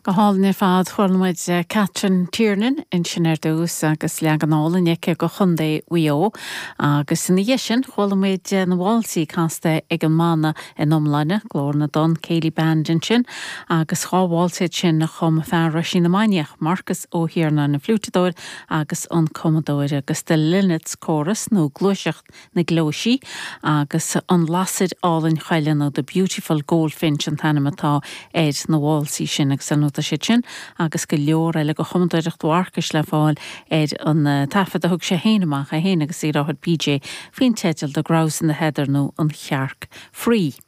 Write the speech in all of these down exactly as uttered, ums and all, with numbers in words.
Go hálainn ar fad chuala muid Catherine Tiernan ansin ar dtús agus leagan álainn aici de Chontae Mhaigh Eo agus ina dhiaidh sin chuala muid na válsaí casta ag an mbanna in iomláine Glór na dTonn Céilí Band ansin agus dhá válsa sin a chum fear Roisín na Mainiach Marcus Ó hIarnáin an fliúiteadóir agus an cumadóir agus The Linnets Chorus nó gluaiseacht na gcleoisí agus an lasair álainn choille nó The Beautiful Goldfinch an t-ainm atá ar na válsaí sin agus an tá siad sin agus go leor eile de chumadóireacht Mharcais le fáil ar an taifead a thug sé féin amach é féin agus a dheartháir PJ faoin teideal The Grouse in the Heather nó an Chearc Fraoigh.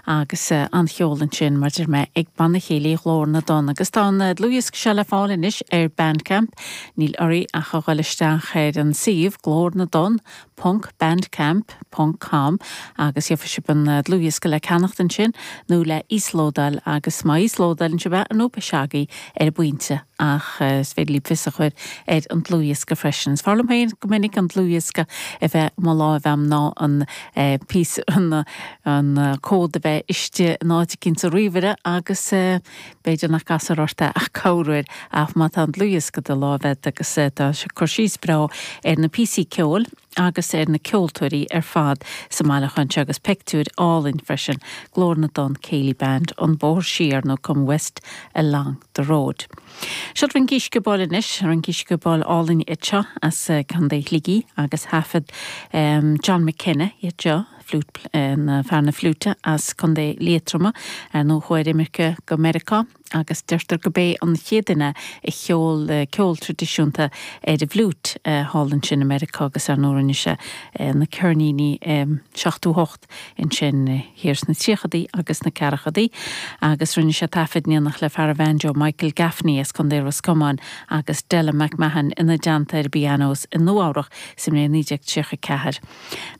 agus uh, an cheol ansin mar deir mé ag Banna Céilí Ghlór na dTonn agus tá an dlúthdhiosca seo le fáil anois ar Bandcamp níl oraibh ach a dhul isteach ar an suíomh Glór na dTonn ponc bandcamp ponc com agus gheobhaidh sibh an dlúthdhiosca le ceannacht ansin nó le íoslódáil agus má íoslódálann sibh é nó seagaí ar an bpointe ach is féidir libh fios a chur ar an dlúthdhiosca freisin. Is fearr liom féin go minic an dlúthdhiosca a bheith mo láimh agam ná an pí an an comhad a bheith istigh in áit éicint sa ríomhaire agus b'fhéidir nach gcasfar ort é ach corruair ach má tá an dlúthdhiosca i do láimh agat agus tá sé cur síos breá ar na píosaí ceoil agus ar na ceoltóirí ar fad sa mbailiúchán seo agus pictiúir álainn freisin Glór na dTonn Céilí Band an Bóthar Siar nó Come West Along the Road. Seo rince sciobóil anois rince sciobóil álainn seo as Contae Shligigh agus thaifead um, John McKenna iad seo flute na fear na fliúite as Contae Liatroma ar nó chuaigh ar imirce go Meiriceá agus deirtear gurb é an chéad duine a cheol ceol traidisiúnta ar an bhfliúit thall ansin i Meiriceá agus ar ndóigh rinne sé na ceirníní seachtó hocht ansin thiar sna tríochadaí agus na ceathrachaidí agus rinne sé taifead in éineacht le fear an bhanjo Michael Gaffney as Contae Ros Comáin agus Della McMahon ina dteannta ar pianos i Nua-Eabhrac sa mbliain naoi déag tríocha ceathair.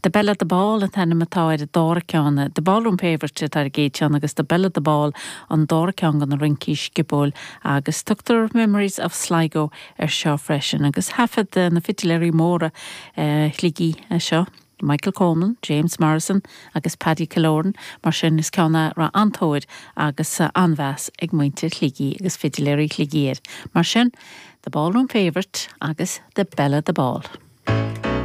The Belle at the Ball an t-ainm atá ar an dara ceann, The Ballroom Favourite atá ar an gcéad cheann agus The Belle at the Ball an dara ceann de na rincí sciobóil agus tugtar Memories of Sligo ar seo freisin agus thaifead na fidiléirí móra uh, Shligigh seo. Michael Coleman, James Morrison agus Paddy Killoran mar sin is ceann a raibh an-tóir agus an-mheas ag muintir Shligigh agus fidiléirí Shligigh air. Mar sin, The Ballroom Favourite agus The Belle at the Ball.